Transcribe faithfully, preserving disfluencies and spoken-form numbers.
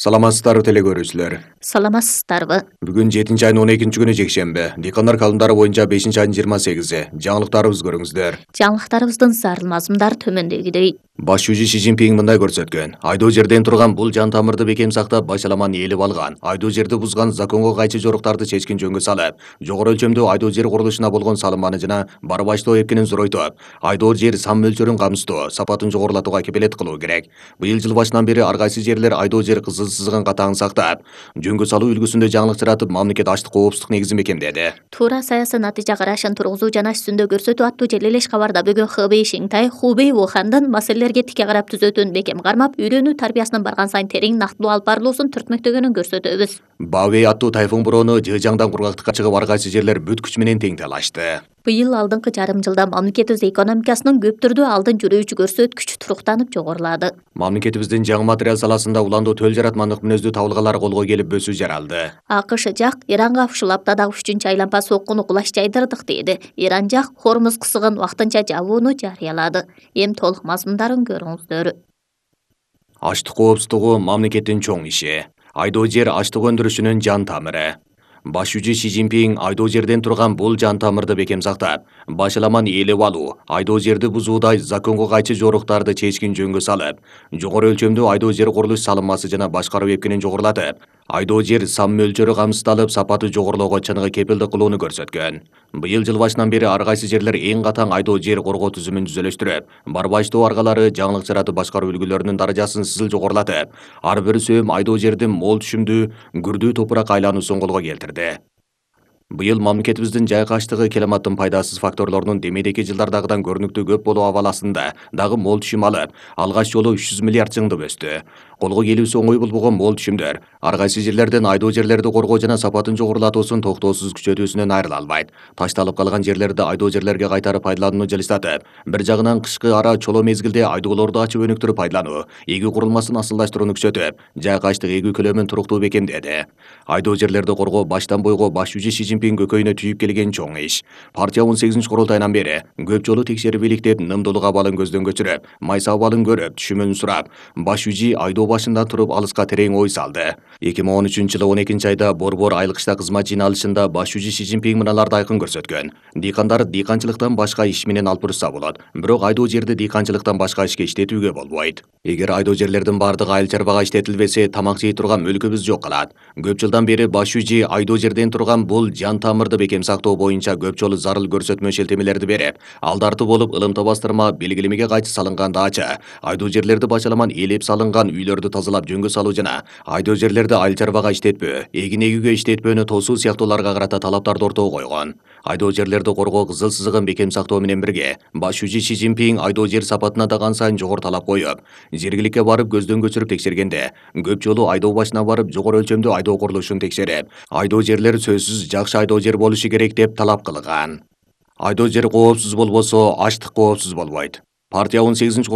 Саламатсыздарбы теле көрүүчүлөр. Саламатсыздарбы. Бүгүн жетинчи айдын он экинчи күнү жекшемби. Дыйкандар калымдары боюнча бешинчи айдын жыйырма сегизи. Жаңылыктарыбызды көрүңүздөр. Жаңылыктарыбыздын зарыл мазмундары төмөндөгүдөй. Баш жүзү Си Цзиньпин мындай көрсөткөн. Айдоо жерден турган бул жан тамырды бекем сактап, башаламан ээлеп алган. Айдоо жерди бузган законго кайчы жоруктарды чечкин жөнгө салып, жогору өлчөмдүү айдоо жер курулушуна болгон салыманы жана бар баштоо эркинин зоройтуп, айдоо жер сан мөлчөрүн камсыздоо, сапатын жогорулатууга кепилет кылуу керек. Быйыл жыл башынан бери ар кайсы жерлер айдоо жер кызыл сызыгын катаң сактап, жөнгө салуу үлгүсүндө жаңылык жаратып, мамлекет аштык коопсуздук негизин бекемдеди. Туура саясий натыйжа карашын тургузуу жана үстүндө көрсөтүү аттуу желилеш кабарда бүгүн Хэбэй Шинтай Хубэй Ухандын маселелерге тике карап түзөтүүнү бекем кармап, үйрөнүү тарбиясынын барган сайын терең нактылуу алып барылуусун түртмөктөгөнүн көрсөтөбүз. Баобэй аттуу тайфун бороону жыжаңдан кургактыкка чыгып, ар кайсы жерлер бүт күч менен тең талашты. Быйыл алдыңкы жарым жылда мамлекетибиз экономикасынын көп түрдүү алдын жүрүүчү көрсөткүчү туруктанып жогорулады. Мамлекетибиздин жаңы материал саласында уландуу төл жаратмандык мүнөздүү табылгалар колго келип бөсүү жаралды. АКШ жак Иранга ушул аптадагы үчүнчү айлампа соккуну кулаш жайдырдык деди. Иран жак Хормуз кысыгын вактынча жабууну жарыялады. Эми толук мазмундарын көрүңүздөр. Аштык коопсуздугу мамлекеттин чоң иши. Айдоо жер аштык өндүрүшүнүн жан тамыры. Баш жүзү Си Цзиньпин айдоо жерден турган бул жан тамырды бекем сактап, башаламан ээлеп алуу, айдоо жерди бузуудай законго кайчы жоруктарды чечкин жөнгө салып, жогору өлчөмдүү айдоо жер курулуш салынмасы жана башкаруу эркинин жогорулатып, айдоо жер сан мөлчөрү камсыздалып, сапаты жогорулоого чыныгы кепилдик кылууну көрсөткөн. Быйыл жыл башынан бери ар кайсы жерлер эң катаң айдоо жер коргоо түзүмүн түзөлөштүрүп, бар баштоо аргалары жаңылык жаратып башкаруу үлгүлөрүнүн даражасын сызыл жогорулатып, ар бир сөөм айдоо жердин мол түшүмдүү, күрдүү топурак айлануусун колго келтирди. Быйыл мамлекетибиздин жайкы аштыгы климаттын пайдасыз факторлорунун демейдеки жылдардагыдан көрүнүктүү көп болуу абаласында дагы мол түшүм алып, алгач жолу үч жүз миллиард жыңдып өстү. Колго келүүсү оңой болбогон мол түшүмдөр ар кайсы жерлерден айдоо жерлерди коргоо жана сапатын жогорулатуусун токтоосуз күчөтүүсүнөн айрыла албайт. Ташталып калган жерлерди айдоо жерлерге кайтарып пайдаланууну жылыстатып, бир жагынан кышкы ара чоло мезгилде айдоолорду ачып өнүктүрүп пайдалануу, эгүү курулмасын асылдаштырууну күчөтүп, жайкы аштык эгүү көлөмүн туруктуу бекемдеди. Айдоо жерлерди коргоо баштан бойго баш жүзү Си Цзиньпин көкөйүнө түйүп келген чоң иш. Партия он сегизинчи курултайынан бери көп жолу текшерип иликтеп, нымдуулук абалын көздөн көчүрүп, майса абалын көрүп, түшүмүн сурап, баш жүзү айдоо башында туруп алыска терең ой салды. эки миң он үчүнчү жылы он экинчи айда Борбор айыл кышта кызмат жыйналышында баш жүзү Си Цзиньпин мыналарды айкын көрсөткөн. Дыйкандар дыйканчылыктан башка иш менен алпурушса болот, бирок айдоо жерди дыйканчылыктан башка ишке иштетүүгө болбойт. Эгер айдоо жерлердин бардыгы айыл чарбага иштетилбесе, тамак жей турган өлкөбүз жок калат. Көп жылдан бери баш жүзү айдоо жерден турган бул жан тамырды бекем сактоо боюнча көп жолу зарыл көрсөтмө шелтемелерди берип, алдарты болуп ылымта бастырма белгилемеге кайчы салынган даача, айдоо жерлерди башаламан ээлеп салынган үйлөрдү тазалап жөнгө салуу жана айдоо жерлерди айыл чарбага иштетпөө, эгин эгүүгө иштетпөөнү тосуу сыяктууларга карата талаптарды ортого койгон. Айдоо жерлерди коргоо кызыл сызыгын бекем сактоо менен бирге, баш жүзү Си Цзиньпин айдоо жер сапатына да кан сайын жогору талап коюп, жергиликке барып көздөн көчүрүп текшергенде, көп жолу айдоо башына барып жогору өлчөмдүү айдоо курулушун текшерип, айдоо жерлер сөзсүз жакшы айдоо жер болушу керек деп талап кылган. Айдоо жер коопсуз болбосо, аштык коопсуз болбойт. Партия он сегизинчи